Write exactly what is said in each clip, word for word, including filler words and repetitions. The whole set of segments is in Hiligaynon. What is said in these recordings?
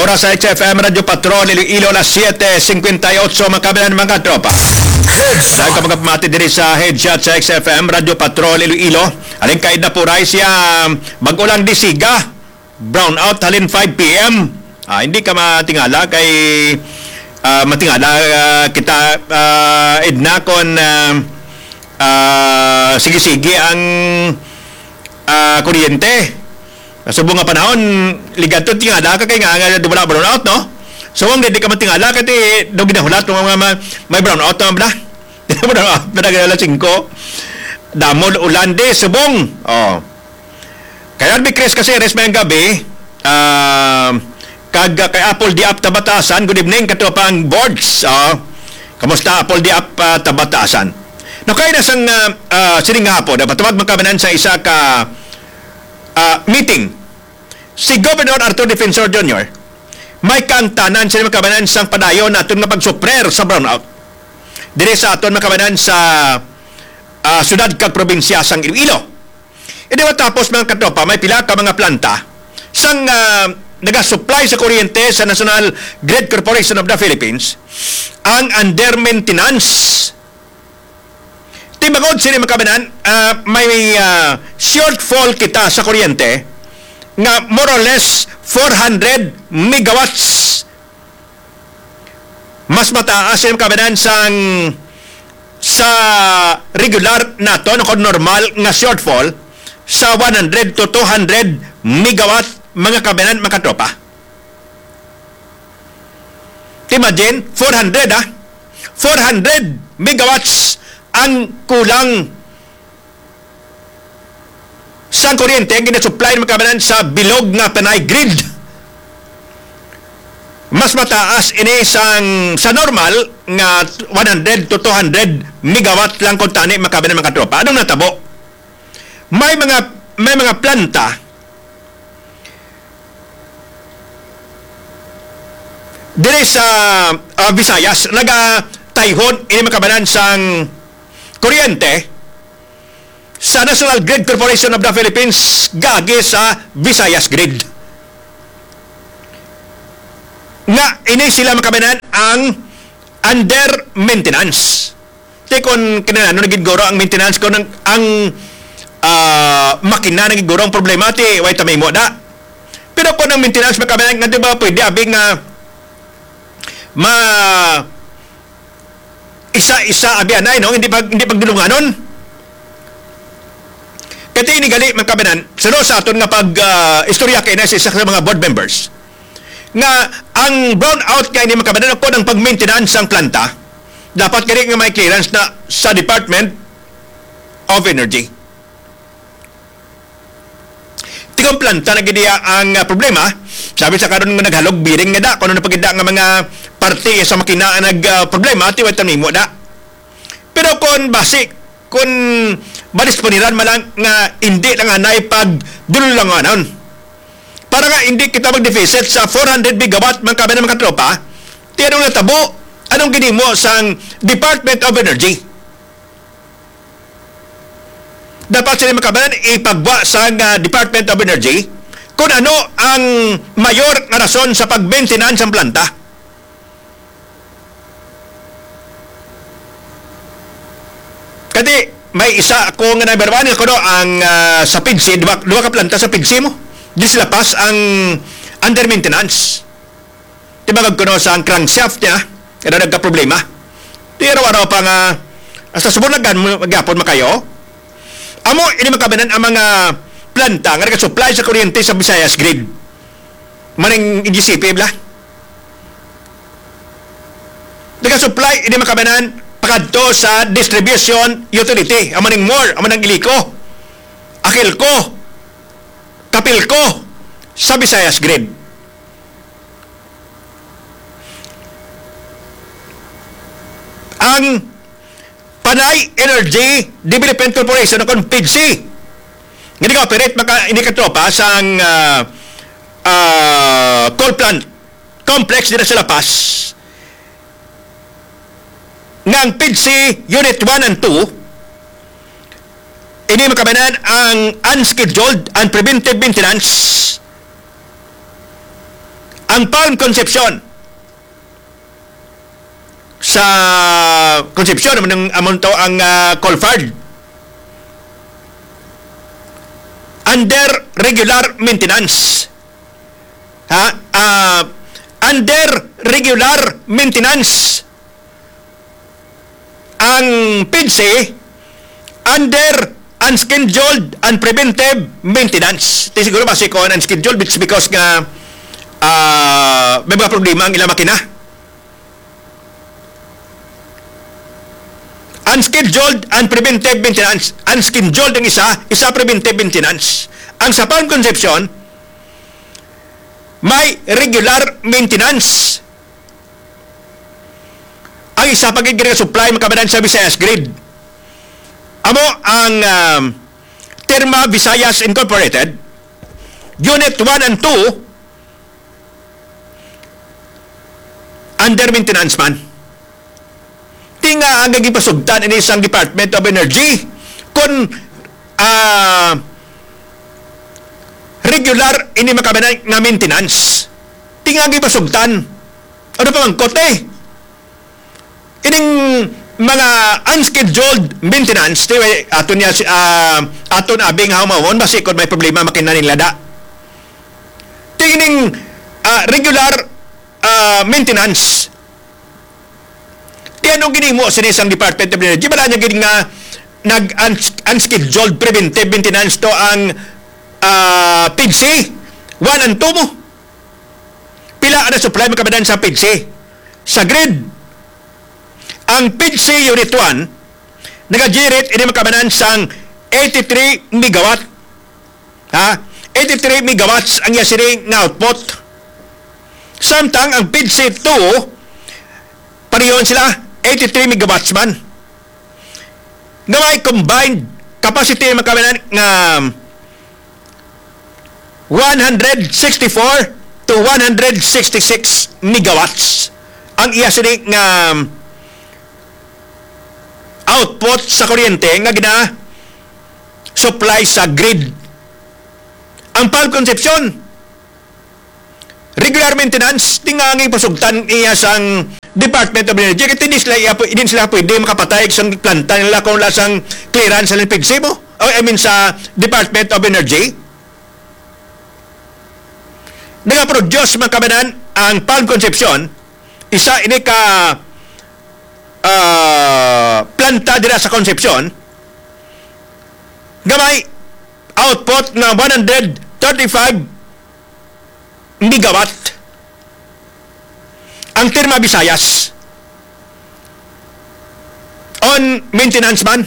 Oras sa X F M Radyo Patrol Iloilo, alas siyete cincuenta y ocho, mga kababayan, mga tropa. Dahil ka magpamati diri sa headshot sa X F M Radyo Patrol Iloilo, aling kaid na puray siya, bag-o lang disiga, brown out halin five P M. Ah, hindi ka matingala kay, ah, matingala, ah, kita, ah, Edna, kon, ah, ah, sige-sige ang, ah, kuryente. Sa subong nga panahon, ligadto tingala ka kay nga, nga wala brown out, no? So, ang di ka matingala kay ti, daw ginahulat nga mga ma-, may brown out naman bala. Di na brown out, pila ka alas singko. Damol ulan di, subong. Oh. Kay R B Chris Caceres, mayang gabi, ah, kag, ah, kay Apple Diap Tabatasan, good evening, katropang Bords. Oh. Kamusta, Apple Diap, ah, Tabatasan? No, kay na sang, ah, ah, sining hapon, napatawag man kami sa isa ka, ah, meeting. Si Governor Arthur Defensor Junior, may kaangtanan sini, mga kababayan, sang padayon naton nga pagsupler sa brownout diri sa aton, mga kababayan, sa, ah, syudad kag probinsya sang Iloilo. Ini matapos, mga katropa, may pila ka mga planta sang, ah, nagasupply sa kuryente sa National Grid Corporation of the Philippines ang under maintenance. Ti bangod sini, mga kababayan, ah, may, ah, shortfall kita sa kuryente nga more or less four hundred megawatts. Mas mataas ini, mga kababayan, sang sa regular naton o kon normal nga shortfall sa one hundred to two hundred megawatt, mga kababayan, mga katropa. Imagine, four hundred, ah. Four hundred megawatts ang kulang sang kuryente ang ginasupply, mga kababayan, sa bilog nga Panay grid. Mas mataas ini sang, sa normal nga one hundred to two hundred megawatt lang kuntani, mga kababayan, mga katropa. Anong natabo? May mga, may mga planta diri sa, ah, Visayas, nagatayhon ini, mga kababayan, sang kuryente sa National Grid Corporation of the Philippines, gagi sa Visayas Grid. Nga ini sila, mga kababayan, ang under maintenance. Ti kon kinahanglan na gid guro ang maintenance, kon ang, ang, ah, makina na gid guro ang problema, ti way ta mahimo da. Pero kon ang maintenance, mga kababayan, nga di ba pwede abi nga ma-, isa-isa abi anay, no? Hindi pag, hindi pagdulunganon. Kay ti ini gali, mga kababayan, suno sa aton nga pag, ah, istorya kay na sa isa sa mga board members nga ang brownout nga ini, mga kababayan, kon ang pag-maintenance sang planta, dapat gani nga may clearance na sa Department of Energy. Ti kon planta na gid iya ang, ah, problema, sabi sa karon nga naghalog bearing nga da, kung ano na pagida nga mga parte sa makina ang nag, ah, problema, ti way ta mahimo da. Pero kon basi, kon madisponiran man lang nga hindi lang anay pagdulunganon. Para nga hindi kita mag-deficit sa four hundred megawatt, mga kababayan, mga katropa, ti anong natabo, anong ginhimo sang Department of Energy? Dapat sila, mga kababayan, ipagwa sa, ah, Department of Energy kung ano ang mayor nga rason sa pag-maintenance sang planta. Kati, may isa ako nga number one, ako, no, ang, ah, sa PIDCI, duha, duha ka planta sa PIDCI mo. Di sila pas ang under maintenance. Ti bangod kuno sa ang crankshaft niya, kada nagka-problema. Ti araw-araw pa nga, hasta subong na gan-, gyapon makayo. Amo, ini, mga kababayan, ang mga planta nga nagasupply sa kuryente sa Visayas Grid. Maning G C P bala. Nagasupply, ini, mga kababayan, pakadto sa distribution utility. Amo ning MORE, amo ning ILECO, AKELCO, KAPELCO, sa Visayas Grid. Ang Panay Energy Development Corporation o kon PEDC, nga nag-operate, mga ka-, ini, katropa, sang, ah, ah, coal plant complex dira sa La Paz, nga ang PEDC Unit one and two, ini, mga kababayan, ang unscheduled and preventive maintenance Ang Palm Concepcion, sa Concepcion, amo nang, amo to ang, ah, Colfard. Under regular maintenance. Ha? Ah, under regular maintenance ang P I D C, under unscheduled and preventive maintenance. Ti siguro basi ko ang unscheduled, it's because nga, ah, may mga problema ang ilang makina. Unscheduled and preventive maintenance. Unscheduled ang isa, isa preventive maintenance. Ang sa Palm Concepcion, may regular maintenance. Ang isa pa gid nga supply, mga kababayan, sa Visayas Grid. Amo ang, um, Terma Visayas Incorporated, Unit one and two, under maintenance man. Ti nga ang gipasugtan ini sang Department of Energy, kung, ah, regular ini, mga kababayan, nga maintenance. Ti nga gipasugtan. Ano pa man kot, eh? Ining mga unscheduled maintenance, ti, aton niya si, ah, aton abing hawmawon, basi kon may problema, makina ning lada. Ti ining, ah, regular, ah, maintenance. Ti ano ginhimo sini sang Department of Energy? Wala niya gid nga nag-, uns-, unscheduled preventive maintenance to ang, ah, P I D C one and two mo. Pila ang supply, mga kababayan, sa P I D C? Sa grid, ang P I D C Unit one, nag-generate ini, mga kababayan, sang eighty-three megawatt. Ha? Eighty-three megawatts ang iya sini nga output. Samtang ang P I D C two, pareho sila, eighty-three megawatts man. Nga may combined capacity, mga kababayan, nga one hundred sixty-four to one hundred sixty-six megawatts ang iya sini nga output sa kuryente nga gina-supply sa grid. Ang Palm Concepcion, regular maintenance, ti nga ang ipasugtan iya sang Department of Energy, kay hindi sila, iya, hindi sila pwede makapatay sa planta nila kung wala sang clearance sa P I D C mo, o, I mean, sa Department of Energy. Nagaproduce, mga kababayan, ang Palm Concepcion, isa ini ka, ah, planta dira sa Concepcion, nga may output nga one hundred thirty-five megawatt. Ang Terma Visayas, on maintenance man,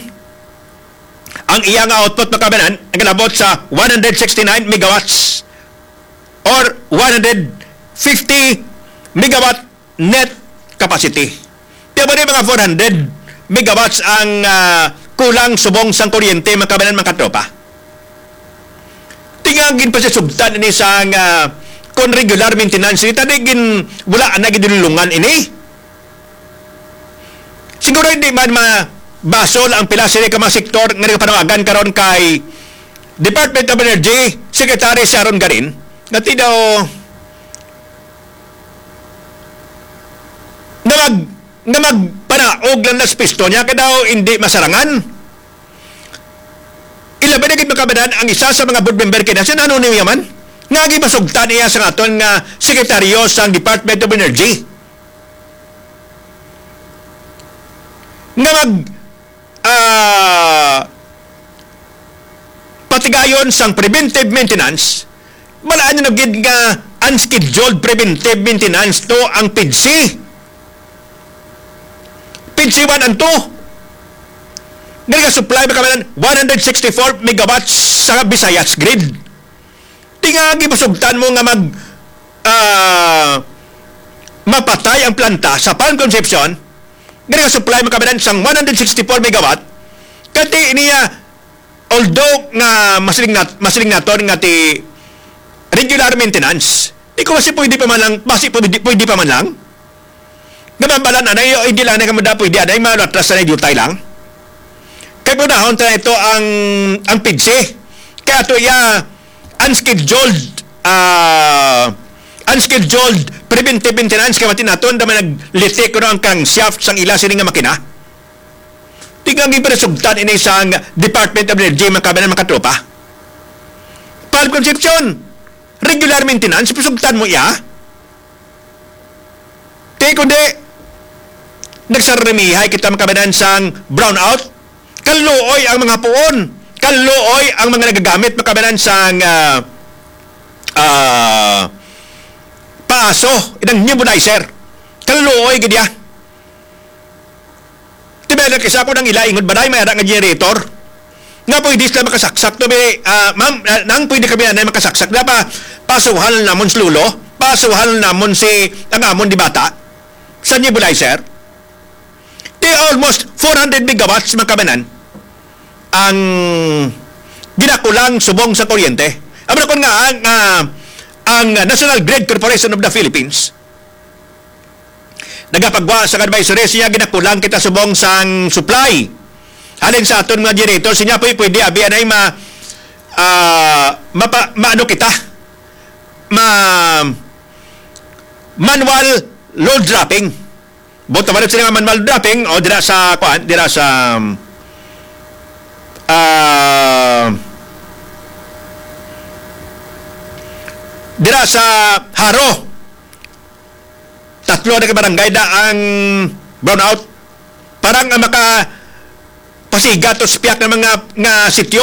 ang iya nga output, mga kababayan, nagalabot sa one hundred sixty-nine megawatts or one hundred fifty megawatt net capacity. Kaya ba ni mga four hundred megawatts ang, ah, kulang subong sang kuryente, mga kababayan, mga katropa? Ti nga ang ginpasasugtan ini sang, ah, kon regular maintenance, ini tadi gin, wala na gidulungan ini. Siguro hindi man mabasol ang pila sini ka mga sektor nga nagapanawagan karon kay Department of Energy Secretary Sharon Garin, nga ti daw nga mag-, nga magpanaog lang na sa pisto niya, kay daw hindi masarangan. Ilabi na gid, mga kababayan, ang isa sa mga board member kina, si Nano Niyaman, nga gipasugtan iya sa aton nga sekretaryo sa Department of Energy. Nga mag-, ah, patigayon sang preventive maintenance, balaan nyo na gid nga unscheduled preventive maintenance to ang P I D C. P I D C one and two. Nga nagasupply, mga kababayan, one hundred sixty-four megawatts sa Visayas Grid. Ti nga gipasugtan mo nga mag-, ah, mapatay ang planta sa Palm Concepcion, nga nagasupply, mga kababayan, sang one hundred sixty-four megawatt, kay ti niya, although nga masiling nat-, masiling naton nga ti regular maintenance, di ko, basi pwede pa man lang, basi pwede, pwede pa man lang. Nga mabalaan anay, o hindi lang na kamo da pwede anay, malatras na diutay lang. Kay punahon ta ito ang, ang P I D C. Kaya ito iya, unscheduled, ah, scheduled preventive maintenance kay mati naton da man naglitik kuno ang crankshaft sang ila sini nga makina. Di nga ginpasugtan ini sang Department of Energy, mga kabanan, mga katropa. Palm Concepcion, regular maintenance, pasugtan mo iya. Di kundi, nagsaramihay kita, mga kabanan, sang brownout. Kaluoy ang mga puon. Kaluoy ang mga nagagamit, mga kabanan, sang, ah, ah, paaso, inang nebulizer. Kaluoy gid iya. Tibayan lang kisa ko nang ila ingod, baday may ara nga generator. Nga pwede sila makasaksak to, be, ah, ma'am, ah, nang pwede kami anay makasaksak na pa, pasuhan namon si Lolo, pasuhan namon si, ang amon di bata, sa nebulizer. Di almost four hundred megawatts, mga kabanan, ang ginakulang subong sa kuryente. Amo na kon nga ang, ah, ang National Grid Corporation of the Philippines nagapagwa sa advisory siya, ginakulang kita subong sang supply. Halin sa aton mga generator, siya pwede, pwede abi anay ma, ah, mapa, maano kita, ma, manual load dropping. Buto ba sila nga manual dropping o dira sa, kuan, dira sa, ah, dira sa Jaro? Tatlo na ka barangay da ang brownout. Parang ang maka pasiga to sa piyak nga mga, nga sitio.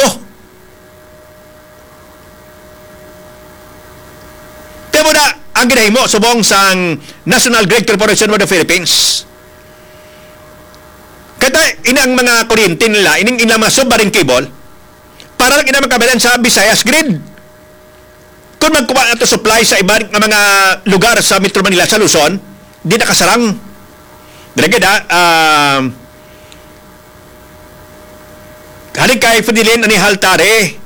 Kaya mo na ang ginahimo subong sang National Grid Corporation of the Philippines. Kaya ini ang mga kuryente nila, ining ilang mga submarine cable, para lang ina magkabalan sa Visayas Grid. Kung magkuha na to supply sa iban nga mga lugar sa Metro Manila, sa Luzon, di nakasarang. Dali gid, ah, um, Hari kay Fidelin Anihal Tare.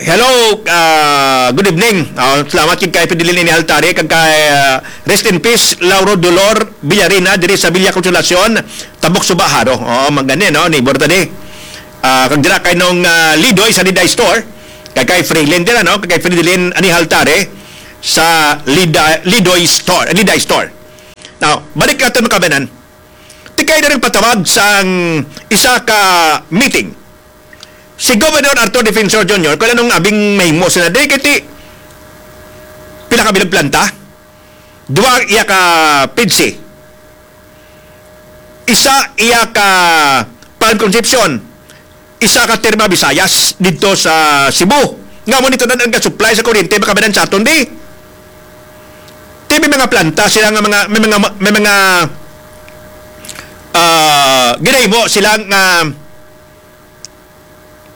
Hello, ah, good evening. Ah, salamat kay Fidelin Anihal Tare, kag kay, ah, rest in peace, Lauro Dolor Villarina, diri sa Villa Consolacion, Tambok Suba, Jaro. Oo, magani, no? Neighbor ta di. Ah, kag dira kay nung, ah, Lidoy sa Liday Store. Kay, kay Freelin dira, no? Kay Freelin Anihal Tare sa Lida-, Lidoy Store, Liday Store. Now, balik natin, mga kabanan. Tikay na rin patawag sang isa ka meeting si Governor Arthur Defensor Junior, kung anong abing mahimo sila. Di kiti, pila ka bilog planta? Duwa iya ka P D C. Isa iya ka Palm Concepcion, isa ka Terma Visayas didto sa Cebu. Nga mo nito na ang supply sa kuryente, makabanan sa aton, di? Di may mga planta sila nga mga, may mga, may mga, ah, ginahimo sila nga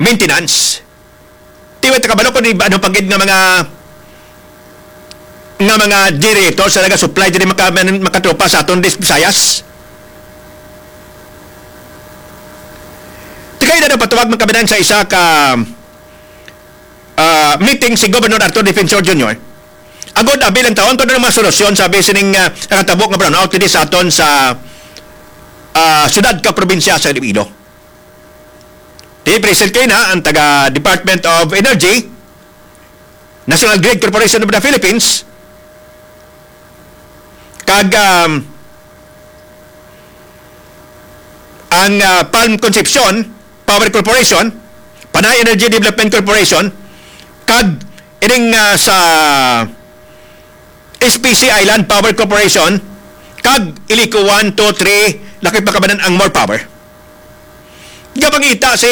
maintenance. Di ba, takabalo ko, di ba, ano pa gid nga mga, nga mga generator sa naga-supply diri maka-, makatropa sa aton dis Visayas? Tikay na napatawag, mga kabanan, sa isa ka, ah, meeting si Governor Arthur Defensor Junior. Agod abi lang taon kung ano mga solusyon, sabi sining, ah, nakatabo nga brownout diri sa aton sa, ah, siyudad ka probinsya sa Iloilo. Di present kayo na ang taga Department of Energy, National Grid Corporation of the Philippines, kag, um, ang, ah, Palm Concepcion Power Corporation, Panay Energy Development Corporation, kag ining, ah, sa S P C Island Power Corporation, kag Ilico one, two, three, lakay pakabanan ang More Power. Gapangita si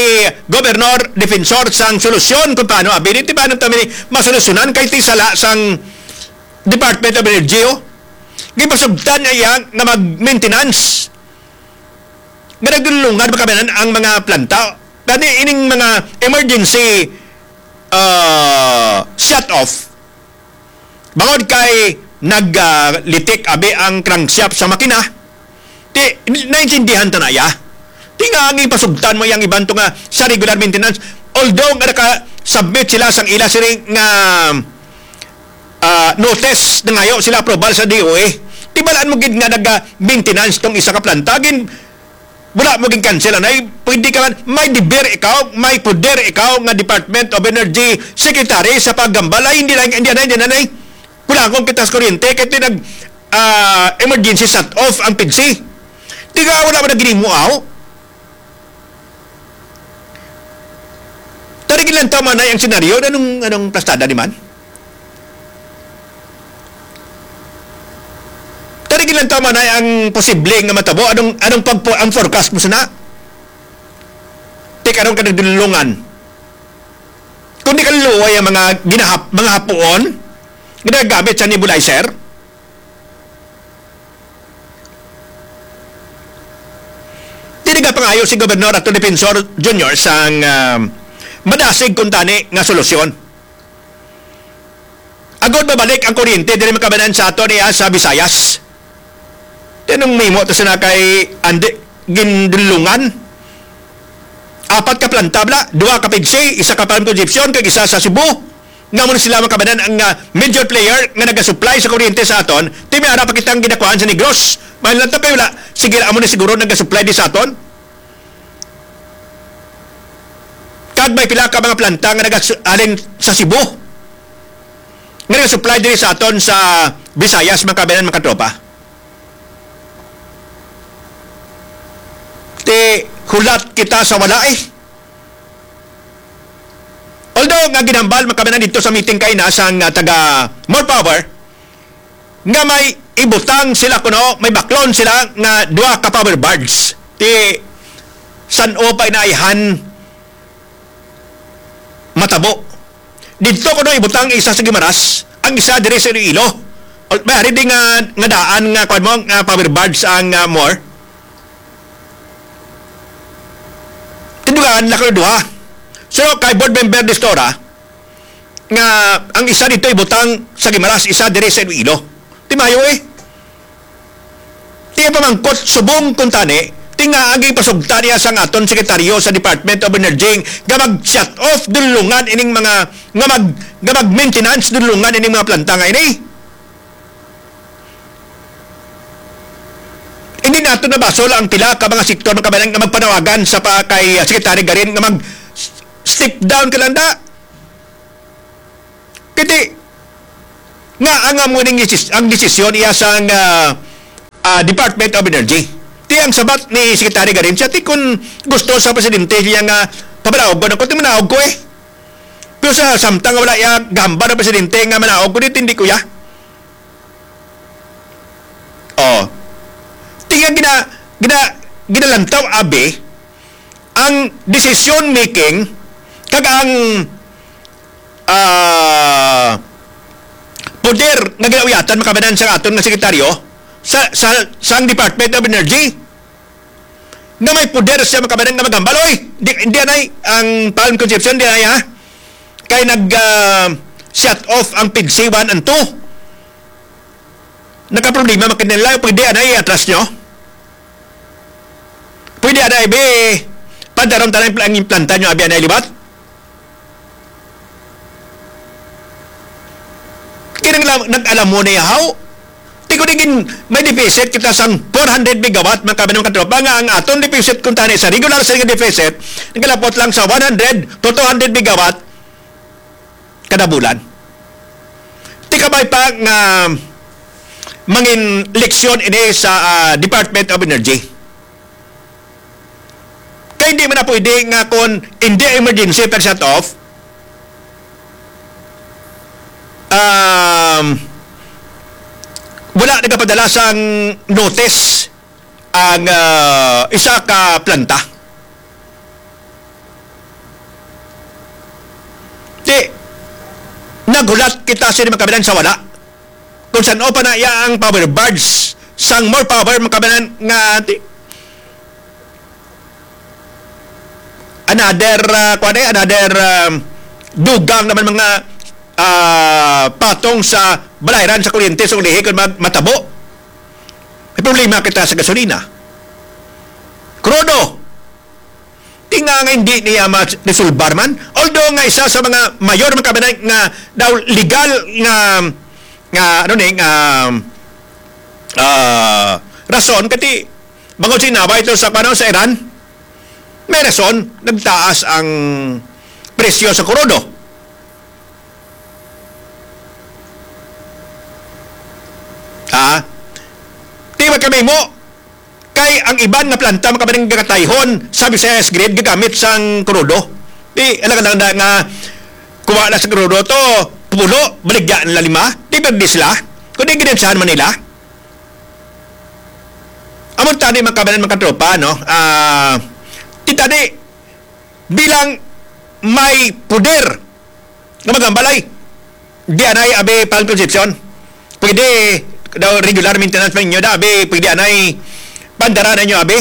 Governor Defensor sang solusyon kung paano ability, paano kami masolusyonan kay ti sala sang Department of Energy, oh. Gipasugtan niya iya nga mag-maintenance. Nga nagdulungan pa kami ang mga planta. Kani ining mga emergency, ah, shut-off. Bangod kay nag, ah, litik abi ang crankshaft sa makina, ti, naintindihan ta na iya. Ti nga ang ipasugtan mo yang iban to nga sa regular maintenance, although nga naka-submit sila sang ila sini nga, ah, notice, nangayo sila approval sa D O A. Ti balaan mo gid nga naga-maintenance tong isa ka planta, gin, wala mo gin-cancel, anay. Pwede ka man, may deber ikaw, may poder ikaw nga Department of Energy Secretary sa paggambal. Ay, hindi na, hindi na, hindi na, hindi na. Nagpatangog kita sa kuryente, kay tinag, ah, emergency shut off ang PIDSI. Di nga wala man naginimuaw. Tari, ginlantaw man ay ang senaryo. Anong, anong plastada ni man? Tari, ginlantaw man ay ang posible nga matabo. Anong, anong pagpo-, ang forecast mo sana? Ti karon ka nagdulungan. Kung di ka luluoy ang mga ginahap-, mga hapuon, ginagamit sa nebulizer, Dili nga pangayo si Gobernador Attorney Defensor Junior sang, ah, madasig kuntani nga solusyon. Agod mabalik ang kuryente diri, mga kababayan, sa aton iya sa Visayas. Tinong mimo to sila kay andi gindulungan. Apat ka planta bala, duha ka PIDSI, isa ka Palm Concepcion, kag isa sa Cebu. Nga mo na sila, mga kababayan, ang, ah, major player nga nagasupply sa kuryente sa aton. Ti may ara pa kitang ginakuhaan sa Negros. May lang to kay wala. Sige, amo na siguro nagasupply di sa aton. Kag may pila ka mga planta nga nagas-, alin sa Cebu. Nga nagasupply diri sa aton sa Visayas, mga kababayan, mga katropa. Ti hulat kita sa wala, eh. Although nga ginhambal man kami na dito sa meeting kay na sang, ah, taga More Power, nga may ibutang sila kuno, may baklon sila nga duha ka power barge. Ti san-o pa inaihan matabo. Dito kuno ibutang isa sa Guimaras, ang isa diri sa Iloilo. Al-, may ari di nga, nga daan nga, kuwan mo, nga power barge ang, ah, More. Tindugaan na ko duha. So, kay board member Distora, nga ang isa dito ibutang sa Guimaras, isa diri sa Iloilo. Ti mayo, eh. Ti pamangkot subong kuntani, ti nga agi pasugta niya sang aton sekretaryo sa Department of Energy nga mag-shut off dulungan ining mga, nga mag, nga mag-maintenance dulungan ining mga planta nga ini. Hindi nato nabasol ang pila ka mga sektor, mga kabayan, nga magpanawagan sa pa kay, ah, Secretary Garin nga mag s-, step down ka lang da. Kiti, nga ang amo ning desis-, ang desisyon iya sang, ah, ah, Department of Energy. Ti ang sabat ni Secretary Garin siya, ti kun gusto sa presidente siya nga pabalaog ko, ti manaog ko eh. Pero sa samtang wala iya gahambal ang presidente nga manaog ko, di tindi ko ya. Oh. Ti nga gina-, gina-, ginalantaw abi ang decision making kag ang, ah, poder nga ginauyatan, mga kabayan, sa aton nga sekretaryo sa, sa, sang Department of Energy. Nga may poder siya, mga kabayan, nga maghambal, "Oy, di, di anay ang Palm Concepcion, di anay, ha? Kay nag, ah, shut off ang PIDSI one and two." Nagkaproblema man kanila, pwede anay i-atras nyo? Pwede anay, be, padaron tanan ang planta nyo, abi anay liwat? Kinahanglan nag-alam mo na yahaw. Ti ko digin may deficit kita sang four hundred megawatt, mga kabayan, mga katropa, nga ang aton deficit kung tani sa regular sa deficit, nagalapot lang sa one hundred to two hundred megawatt kada bulan. Ti kabay pa nga mangin leksyon ini sa, ah, Department of Energy. Kay hindi man na pwede nga kung hindi emergency pag shut off, um, wala nagapadala sang notice ang, ah, isa ka planta. Di, naghulat kita sa mga kabayan sa wala. Kung san-o pa na iya ang power barge, sang More Power, mga kabayan, nga di, another, ah, kuwan eh, another, um, dugang naman mga, ah, patong sa balayran sa kuryente sa ulihi kung mag-, matabo. May problema kita sa gasolina. Krudo. Ti nga nga hindi niya ma-resolbar man. Although nga isa sa mga mayor man kami na nga daw legal nga, nga, ano ni, nga, ah, rason, kati bangod sa inaway ito sa, ano, sa Iran, may rason, nagtaas ang presyo sa krudo. Ha? Di ba kami mo? Kay ang iban nga planta, mga kababayan, gakatayhon sa Visayas Grid, gagamit sang krudo. Di, alang-alang na nga kuha na sa krudo to, pulo, baligya nila lima, di ba di sila? Kung di, ginansahan man nila. Amo tani, mga kababayan, mga katropa, no? Ah, kita di, bilang may poder nga maghambalay, di anay abi Pan Concepcion. Pwede daw regular maintenance man ninyo da, abi, pwede anay pandara ninyo, abi.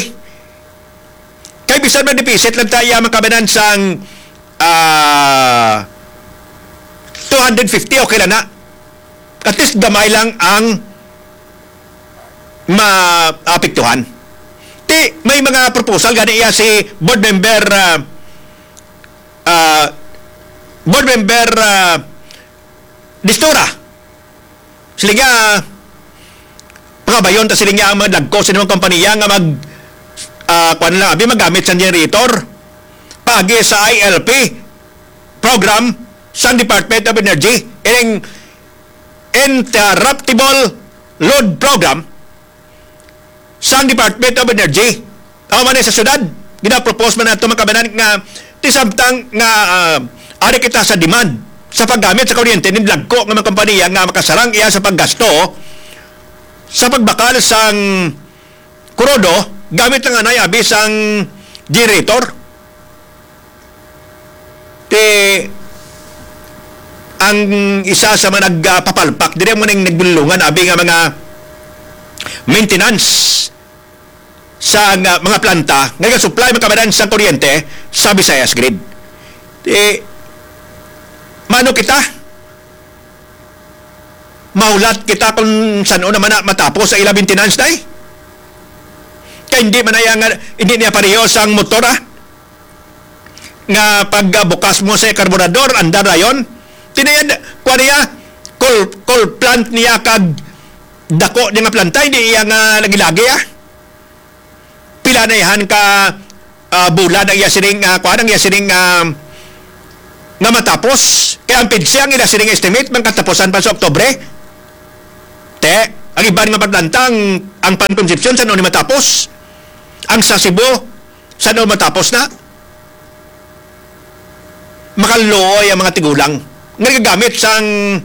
Kay bisan man deficit lang ta iya, mga kababayan, sang, ah, two hundred fifty, okay lang na. At least gamay lang ang maapektuhan. Ti, may mga proposal gani iya si board member, ah, ah, board member, ah, Distura. Sila nga, pangabayon ta sila nga ang mga dagko sa inyong kompanya nga mag, ah, kuwan lang, abi, magamit sa generator. Pagi sa I L P program sang Department of Energy, ining Interruptible Load Program sang Department of Energy. Amo man sa syudad, ginapropose man nato, mga kababayan, nga ti samtang nga, ah, ari kita sa demand sa paggamit sa kuryente ni dagko nga mga kompanya nga makasarang iya sa paggasto sa pagbakal sang krudo, gamit lang anay abi sang generator. Ti, ang isa sa mga nagpapalpak diri mo ning nagbulungan abi nga mga maintenance sa nga mga planta nga nagasupply, mga kababayan, sa kuryente sa Visayas Grid. Ti, mano kita? Mahulat kita kung san-o naman na matapos sa ila maintenance, day? Kay hindi man na iya nga, hindi niya pareho sang motor, ah, nga pagbukas mo sa karburador, andar dayon. Tinayad, kuha niya, coal, coal plant niya kag dako niya nga planta, hindi iya nga lagi-lagi, ah. Pila na ihan ka, ah, bulan ang iya sining, ah, kuwan, ang iya sining, ah, nga matapos. Kaya ang pidsi ang ila sining estimate, man katapusan pa sa Oktubre. Te, ang iban nga paglantang, ang Pan Concepcion, sa ni matapos? Ang sa Cebu, sa ni matapos na? Makaluoy ang mga tigulang nga nagagamit sang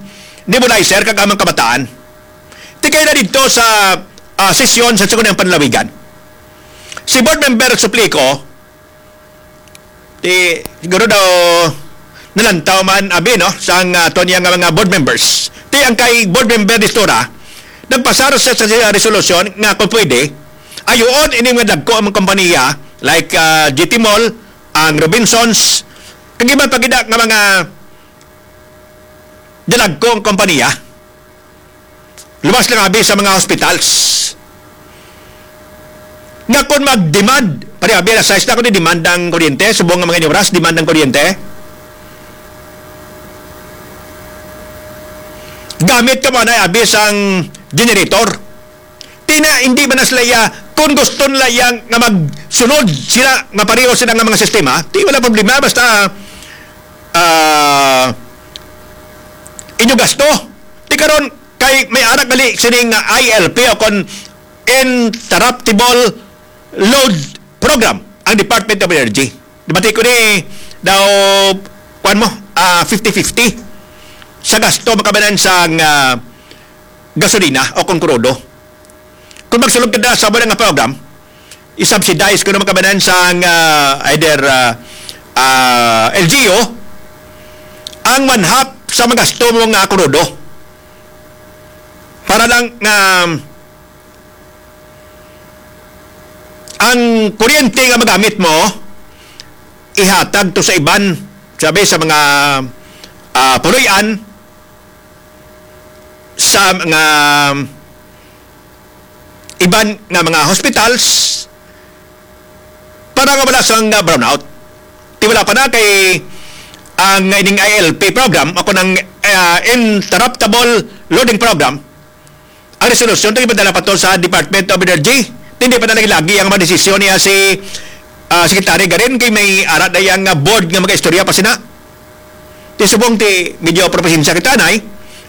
nebulizer kag amang kabataan. Tikay na didto sa, ah, sesyon sa Sangguniang Panlalawigan. Si Board Member Suplico, ti, siguro daw nalantaw man, abi, no, sang, ah, aton iya nga mga board members. Ti, ang kay Board Member Distura, nagpasar sa, sa, sa resolusyon nga kung pwede, ayuon ini nga dagko ang mga kompanya, like, ah, G T Mall, ang Robinsons, kag iban pa gid nga mga dalagko ang kompanya. Luwas lang abi sa mga hospitals. Nga kung mag-demand, pare, abi, alas sais na ako ni demand ang kuryente, subong nga mga inyuras, demand ang kuryente. Gamit ka mo na abi sang generator. Ti na, hindi man na sila iya, kung gusto nila iya nga magsunod sila, nga pareho sila nga mga sistema, ti wala problema, basta, ah, inyo gasto. Ti karon, kay may anak gali sini nga I L P o kon interruptible load program ang Department of Energy. Dibati ko ni daw, kuwan mo, ah, fifty fifty sa gasto makabanan sa, ah, gasolina o kon krudo. Kung magsulod ka na sa wala nga program, i-subsidize ko na makabanan sa, ah, either, ah, ah, L G U ang one half sa magasto mo nga krudo. Para lang nga ang kuryente nga magamit mo, ihatag to sa iban, sabi, sa mga, ah, puloy-an, sa mga iban nga mga hospitals, para nga wala sang, ah, brownout. Ti wala pa na kay ang ining I L P program, ako ng, ah, interruptible loading program, ang resolusyon, ito ipadala pa to sa Department of Energy. Hindi pa na lagi ang mga desisyon niya si, ah, Secretary Garin, kay may ara na yang, ah, board nga mag-istorya pa sina. Ti subong ti medyo propesensya kita, nay.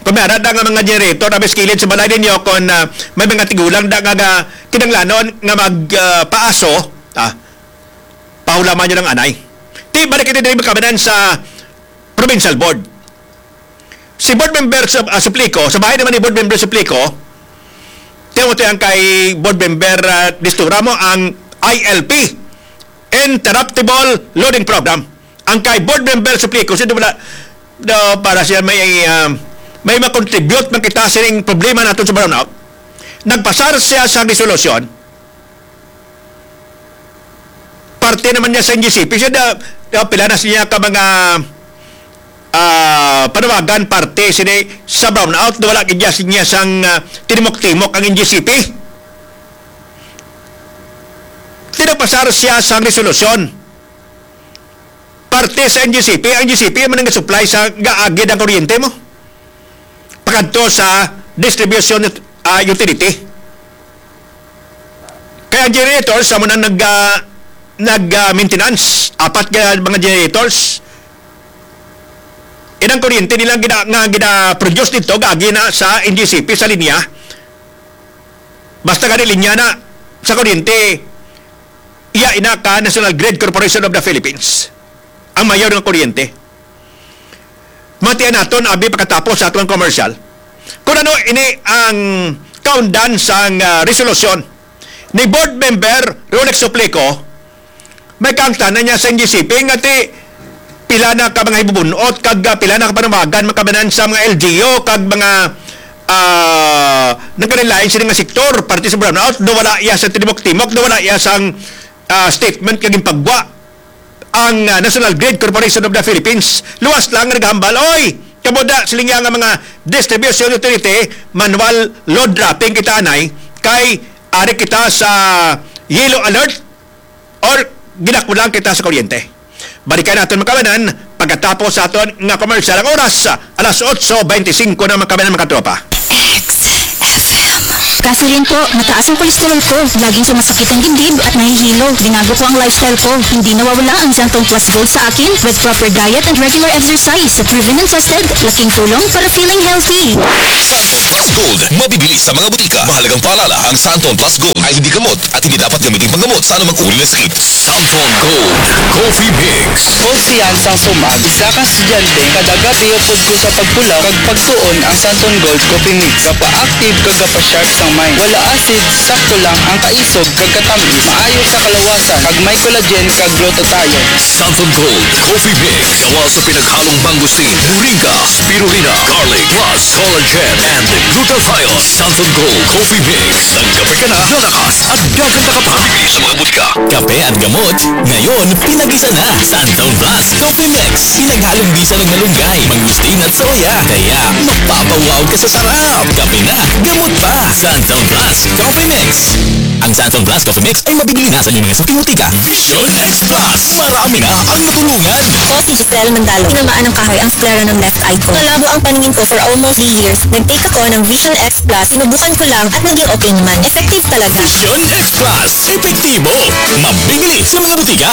Kung may ara da nga mga generator na may kilid sa balay ninyo, kung, ah, may mga tigulang da nga, nga kinahanglanon nga mag, ah, paaso, ah, pahulaman nyo lang anay. Ti, balik kita diri makabanan sa provincial board. Si board member sa, ah, Suplico, sa bahin naman ni board member Suplico, tiyan mo to yan kay board member, ah, Distura mo, ang I L P, Interruptible Loading Program. Ang kay board member Suplico, siya wala, no, para siya may, ah, may makontribute man kita sining problema naton sa brownout. Nagpasar siya sa resolusyon, parte naman niya sa N G C P. Siya da, da, pila na siya ka mga, ah, panawagan parte sini sa brownout na wala gid niya sang, ah, tinimok-timok ang N G C P. Tinagpasar siya sa resolusyon. Parte sa N G C P, ang N G C P man ang supply sa gaagid ang kuryente mo. Pakadto sa distribution, ah, utility. Kaya ang generators, sa muna nag, ah, nag, ah, maintenance, apat ka mga generators. Inang kuryente nila gina, nga gina-produce dito, gagi na sa N G C P, sa linya. Basta gani linya na sa kuryente, iya ina ka National Grid Corporation of the Philippines ang mayor ng kuryente. Matian naton, abi, pagkatapos sa atong commercial, kung ano ini ang kaundan sang, ah, resolusyon ni Board Member Rolex Suplico, may kaangtanan niya sa N G C P nga ti pila na ka mga hibubunot kag, ah, pila na ka panawagan makabanan sa mga L G U kag mga, ah, nagkalain sila nga sektor parte sa brownout, do wala iya sa tinimok-timok, do wala iya sang, ah, statement nga ginpagwa ang, ah, National Grid Corporation of the Philippines. Luwas lang nga naghambal, "Oy, kamo da, siling niya nga mga distribution utility, manual load dropping kita anay, kay ari kita sa yellow alert or ginakulang kita sa kuryente." Balikan naton, makabanan, pagkatapos sa aton nga commercial. Ang oras, alas otso bente singko na, makabanan, mga tropa. X F M. Kasi rin po, mataas ang kolesterol ko. Laging sumasakit ang dibdib at nahihilo. Binago ko ang lifestyle ko. Hindi nawawala ang Xanthone Plus Gold sa akin with proper diet and regular exercise. Proven and tested. Laking tulong para feeling healthy. Xanthone Plus Gold, mabibili sa mga butika. Mahalagang paalala, ang Xanthone Plus Gold ay hindi gamot at hindi dapat gamitin panggamot sa anumang uri ng sakit. Xanthone Gold Coffee Mix. Konfiyansang sumag, isa ka estudyante, kada gabi upod ko sa pagpulaw kag pagsuon ang Xanthone Gold Coffee Mix. Gapa-active kag gapa-sharp sang mind. Wala acid, sakto lang ang kaisog kag katamis. Maayo sa kalawasan, kag may collagen kag glutathione. Xanthone Gold Coffee Mix. Gawa sa pinaghalong mangosteen, moringa, spirulina, garlic, plus collagen and glutathione. Xanthone Gold Coffee Mix. Nagkape ka na, lalakas, at dagan na ka pa. Mabibili sa mga butika. Kape at gamot, ngayon, pinag-isa na. Xanthone Plus Coffee Mix. Pinaghalong bisa ng malunggay, mangosteen at soya. Kaya, mapapawaw ka sa sarap. Kape na, gamot pa. Xanthone Plus Coffee Mix. Ang Xanthone Plus Coffee Mix ay mabibili na sa inyong mga suking butika. Vision X Plus, marami na ang natulungan. Ako si Giselle Mandalo. Tinamaan ng kahoy ang sklera ng left eye ko. Malabo ang paningin ko for almost three years. Nag-take ako ng Vision X Plus. Sinubukan ko lang at naging okay naman. Effective talaga. Vision X Plus, epektibo, mabibili sa mga butika.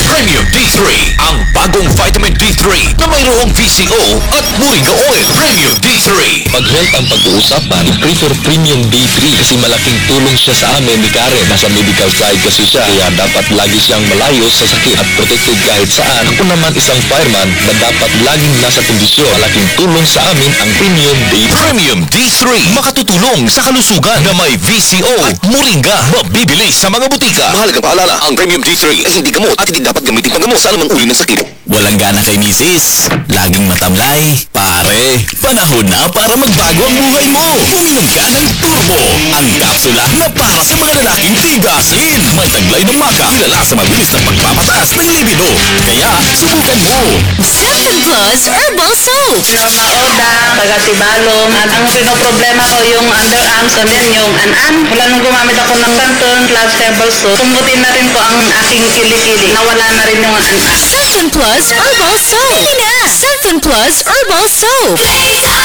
Premium D three, ang bagong vitamin D three na mayroong V C O at moringa oil. Premium D three. Pag health ang pag-uusapan, prefer Premium D three kasi malaking tulong siya sa amin ni Karen. Nasa medical side kasi siya, kaya dapat lagi siyang malayo sa sakit at protected kahit saan. Ako naman isang fireman na dapat laging nasa kondisyon. Malaking tulong sa amin ang Premium D three. Premium D three, makatutulong sa kalusugan na may V C O at moringa. Mabibili sa mga butika. Mahalagang paalala, ang Premium D three ay hindi gamot at hindi dapat gamitin panggamot sa anumang uri ng sakit. Walang gana kay misis? Laging matamlay? Pare, panahon na para magbago ang buhay mo. Uminom ka ng Turbo, ang kapsula na para sa mga lalaking tigasin. May taglay ng maca, kilala sa mabilis na pagpapataas ng libido. Kaya, subukan mo. Xanthone Plus Herbal Soap. Taga Maoda, taga Sibalom. At ang pinoproblema ko yung underarms and then yung an-an. Mula nung gumamit ako ng Xanthone Plus Herbal Soap, kumutin na rin po ang aking kilikili. Nawala na rin yung an-an. Xanthone Plus Herbal Soap. Ano na? Xanthone Plus Herbal Soap.